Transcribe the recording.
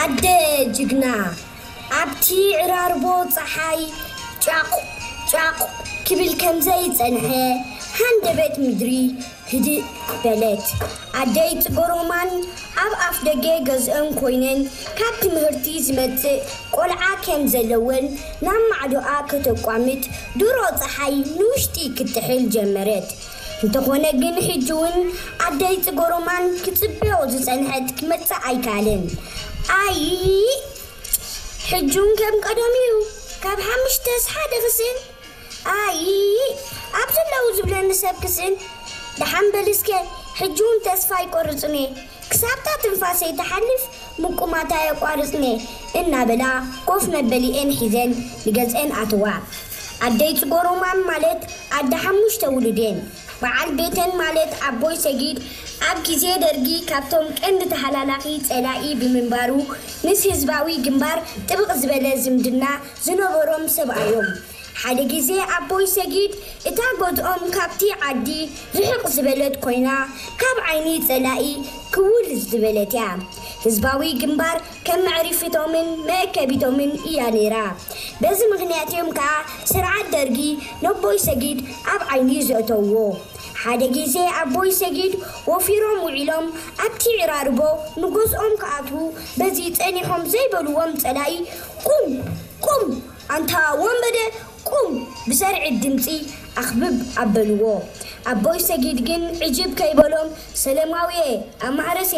ኣደ ጅግና፣ ኣብቲ ዕራርቦ ጸሓይ ጫቕ ጫቕ ክብል ከም ዘይጸንሐ፣ ሃንደበት ምድሪ ህድእ በለት። ኣደይ ጽገሮማን ኣብ ኣፍ ደገ ገዝአን ኮይነን፣ ካብ ትምህርቲ ዝመጽእ ቆልዓ ከም ዘለወን ናብ ማዕዶኣ ከተቋምት፣ ድሮ ጸሓይ ንውሽጢ ክትጥሕል ጀመረት። እንተኾነ ግን፣ ሕጂ እውን ኣደይ ጽገሮማን ክጽበዮ ዝጸንሐት ክመጽእ ኣይከኣለን። ኣይ፣ ሕጂ እውን ከም ቀደም እዩ። ካብ ሓሙሽተስ ሓደ ክስእን። ኣይ፣ ኣብ ዘለዉ ዝብለኒ ሰብ ክስእን። ደሓን በል እስከ፣ ሕጂ እውን ተስፋ ኣይቆርጽን እየ። ክሳብታ ትንፋሰይ ትሓልፍ ምቁማት ኣየቋርጽን እየ፣ እናበላ ኮፍ መበሊኤን ሒዘን ንገዝአን ኣተዋ። ኣደይ ጽገሮማን ማለት ኣደ ሓሙሽተ ውሉድ እየን። በዓል ቤተን ማለት ኣቦይ ሰጊድ ኣብ ግዜ ደርጊ ካብቶም ቀንዲ ተሃላላኺ ጸላኢ ብምንባሩ፣ ምስ ህዝባዊ ግንባር ጥብቕ ዝበለ ዝምድና ዝነበሮም ሰብኣዮም። ሓደ ግዜ ኣቦይ ሰጊድ፣ እታ ገዝኦም ካብቲ ዓዲ ርሕቕ ዝበለት ኮይና፣ ካብ ዓይኒ ጸላኢ ክውል ዝበለት እያ። ህዝባዊ ግንባር ከም መዕሪፊቶምን መእከቢቶምን እያ ነይራ። በዚ ምኽንያት እዮም ከኣ ስርዓት ደርጊ ነቦይ ሰጊድ ኣብ ዓይኒ ዘእተውዎ። ሓደ ግዜ ኣቦይ ሰጊድ ወፊሮም ውዒሎም ኣብቲ ዕራርቦ ንገዝኦም ክኣትዉ በዚ ጸኒሖም ዘይበልዎም ጸላኢ፣ "ቁም! ቁም! ኣንታ ወንበደ ቁም!" ብሰርዒ ድምጺ ኣኽብብ ኣበልዎ። ኣቦይ ሰጊድ ግን ዕጅብ ከይበሎም፣ "ሰለማውየ፣ ኣማህረስ